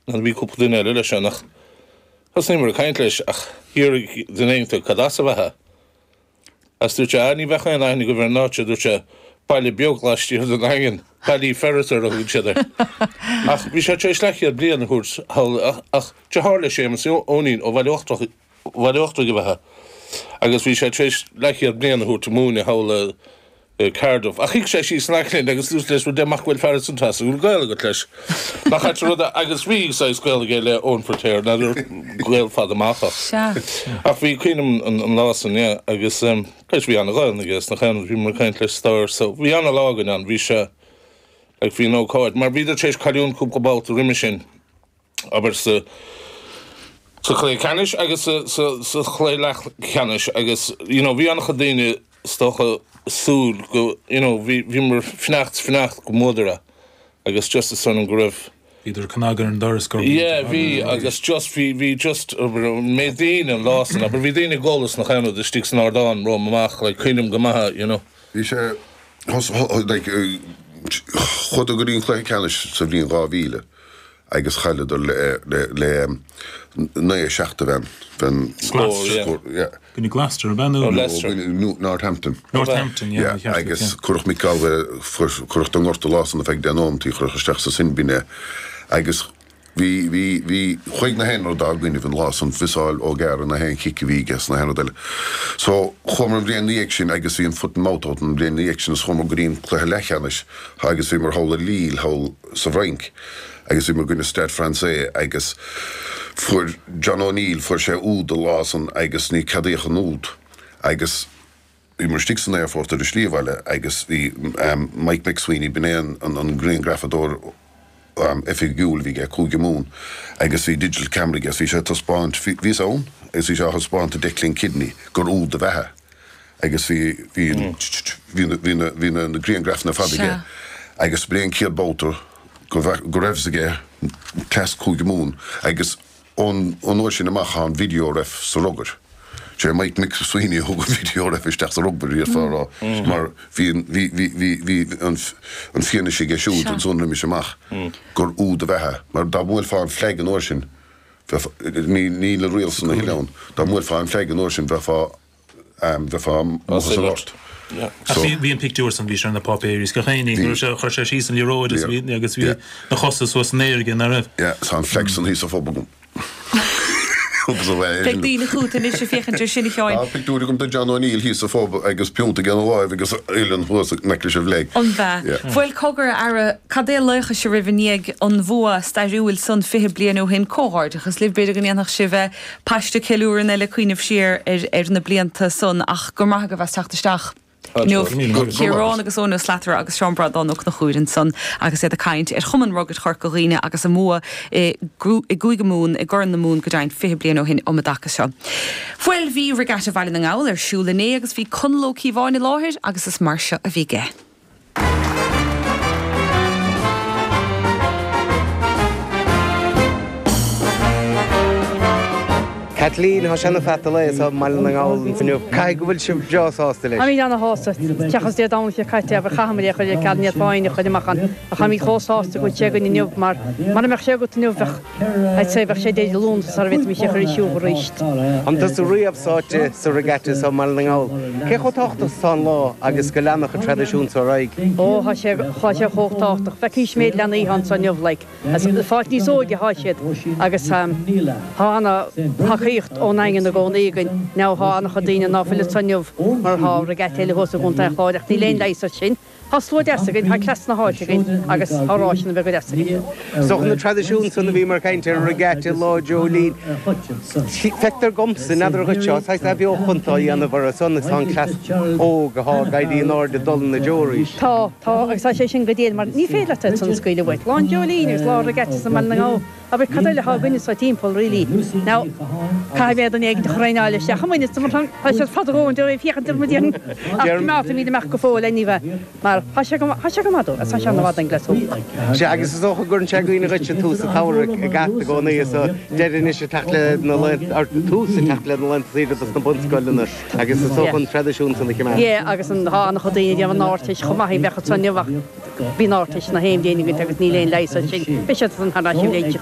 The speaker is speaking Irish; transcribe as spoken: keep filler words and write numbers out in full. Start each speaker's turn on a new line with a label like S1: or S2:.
S1: Nó bhí cúpla duine eile leis ann ach thosnaíomar ag caint leis ach d'fhiafraigh duine éigin cad as a bheifeá. Agus dúirt sé, ah ní bheadh aon aithne agaibh ar an áit seo, dúirt sé, baile beag laistiar den Daingean, Ballyferriter a thugann siad air. Ach bhí sé tar éis leathchéad bliain a thabhairt thall ach deartháir le Séamus Eoinín ó Bhaile Uachtarach Bhaile Uachtarach ab ea agus bhí sé tar éis leathchéad bliain a thabhairt ag múineadh thall i Cardiff. Ach shuigh sé síos in aice linn agus dúirt leis, bhuel, amach go bhfuil fear ansan trasna, go bhfuil gaol agat leis. Nach ait an rud é, agus bhí saghas gaol aige le Eoin Firtéar, n'fheadar gaol fada amach ach.
S2: Sea.
S1: Ach bhí cuimhne agam an lá san, yeah, agus leis bhí an-Ghaelainn aige sna chaon, bhíomar ag caint leis stair, so bhí an-lá againn ann, bhí sé, like bhí an ócáid, mar bhíodar tar éis cailliúint cúpla babhta roimhe sin. abair sa sa chluiche ceannais agus sa sa sa chluiche leathcheannais agus you know bhí an-chuid daoine is dócha súil go you know bhí bhíomar fanacht fanacht go mbuadar é agus just is dóigh liom go raibh
S3: Bhíodar ag cnagadh ar an doras gur
S1: Yeah bhí agus just bhí bhí just abair an méid daoine an lá san abair bhí daoine ag gol as na chaon rud istigh san ardán romham amach like cuimhním go maith you know.
S4: Bhí sé like chuadar go dtí an cluiche ceannais sa bhliain dhá mhíle agus chailleadar le le naoi a seacht a bhean bhean
S1: Scór, yeah.
S4: scór, yeah.
S3: Gcoinne Gloucester, ab ea nó?
S1: Nó Leicester.
S4: Nó Northampton.
S3: Northampton, yeah,
S4: Yeah, agus cuireadh Mick Galwey, cuireadh den ngorta lá san ar feadh deich nóimeataí, cuireadh isteach sa sin bin é. Agus bhí, bhí, bhí, chuaigh na haon rud dá gcoinnibh an lá san, mhiossáil O'Gara na haon chic a bhí aige 's na haon rud eile. So, chuamar an bhliain 'na dhiaidh sin agus bhí an foot and mouth out an bhliain 'na dhiaidh sin is chuamar go dtí an cluiche leathcheannais agus bhíomar thall i Lille thall sa bhFrainc. Agus bhíomar i gcoinne Stade Français agus fuair John O'Neill, fuair sé úd an lá san agus ní ceadaíodh an úd agus bhíomar istigh san aerfort ar an slí abhaile agus bhí Mike McSweeney, b'in é an an grianghrafadóir oifigiúil a bhí aige, Cúige Mumhan, agus bhí digital camera aige agus bhí sé ag taispeáint, bhíos ann agus bhí sé á thaispeáint do Declan Kidney gur úd ab ea é agus bhí, bhí, bhí na, bhí na, bhí na grianghrafanna ar fad aige agus b'é an chéad babhta go go raibh fhios aige cleas Cúige Mumhan agus ón ón uair sin amach tá an video ref sa rugar. Sé Mike McSweeney a thug an video ref isteach sa rugbar d'fhéadfá a rá mar bhí an bhí bhí bhí bhí an an fianaise aige siúd ansan roimis amach gur úd ab ea é mar dá mbuailfeá an flag an uair sin bheifeá ní níl an riail san a thuilleadh ann dá mbuailfeá an flag an uair sin bheifeá bheifeá amuigh as an ngort.
S3: Ach bhí an pictiúr san, bhí sé ar na páipéirí is gach aon ní, go raibh sé, chuir sé síos an liathróid agus bhí, agus bhí na chosa suas san aer aige, nach raibh?
S4: Yeah, tá an flag san thíos sa phub agam.
S2: Beidh daoine chugat anois ag féachaint ar sin, a Sheáin.
S4: Tá pictiúr agam de John O'Neill thíos sa phub agus piúnta aige ina láimh agus uillinn thuas in aice leis an bhflag.
S2: An b'ea? Bhuel, cogar, a fheara, cad é a laochas a raibh i ndiaidh an bhua stairiúil san fiche bliain ó shin? Comhghairdeachas libh, b'fhéidir go ndéanfadh sibh paiste ceiliúradh eile cuimhneamh siar ar na blianta san ach go raibh maith agaibh as teacht isteach inniu. Ciarán agus Eoin Ó Slatara agus Seán Breandán Ó Conchúir ansan agus iad ag caint ar Chumann Rugair Chorca Dhuibhne agus a mbua i gCúige Mumhan, i gCorn na Mumhan go deimhin, fiche bliain ó shin um an dtaca seo. Bhuel, bhí Regatta Bhaile na nGall ar siúl inné agus bhí Conall Ó Cíobháin i láthair agus is mar seo a bhí aige.
S5: Caitlín, Tá sé ina pheata lae anseo i mBaile na nGall inniu. Caithfidh go bhfuil sibh breá sásta leis.
S6: Táimid ana-shásta. Seachas Dé Domhnaigh seo caite, abair, chaitheamar é a chur ar ceal, ní fhéadfá éinne a chur amach ann. Ach táimid chomh sásta go bhfuil sé againn inniu mar mura mbeadh sé agat inniu bheadh, I'd say, bheadh sé Dé Luain sara bhféadfaimis é a chur ar siúl arís.
S5: An tusa riamh sáite sa regatta seo i mBaile na nGall? Cé chomh tábhachtach is atá an lá agus go leanfadh an traidisiún seo ar aghaidh?
S6: Ó, tá sé, tá sé chomh tábhachtach. Feicís méid leanaí atá anseo inniu, like, ag fáilt níos óige atá siad agus tá ana-thacaíocht ón nDaingean i gcónaí againn. Now, tá ana-chuid daoine ná fuil anseo inniu mar tá regatta eile thuas i gContae an Chláir ach níl aon leigheas air sin. Tá slua deas againn, tá cleas na háite againn agus tá ráiseanna beaga deasa againn.
S5: Is dócha na traidisiúin san a bhíomar ag caint ar, regatta, Lá Joe Linn. Feictear dhomsa, n'fheadar dhuit seo, saghas athbheochan atá á dhéanamh orthu san agus tá an cleas óg atá ag éirí in airde ag dul ina dtreo arís.
S6: Tá, tá agus tá sé sin go diail mar ní féidir leat iad san a scaoileadh uait. Lá an Joe Linn agus lá regatta i mBaile na nGall. Abair, cad eile atá againne sa timpeall, really? Now, caithfidh mé duine éigin a thraenáil isteach i muinne, mar tá siad fada romhainn de réir féachaint ar mo dhéan ach coimeádfaimid amach go fóill anyway, mar tá sé go, tá sé go maith dó, agus tá sé an-mhaith don gcleas óg.
S5: Sea, agus is dócha go gcuireann sé i gcuimhne dhuit an tús an tsamhraidh ag at i gcónaí, is deireadh anois ag teacht le na laethanta, or tús ag teacht le na laethanta saoire dos na bunscoileanna, agus is dócha an traidisiún san a choimeád.
S6: Yeah, agus an, tá an-chuid daoine ag déanamh an Ardteist chomh maith, bheadh ansan inniu ach. Bhí an Ardteist na haon bhliain againn agus níl aon leigheas air sin. Beidh siad san thar n-ais i bhliain.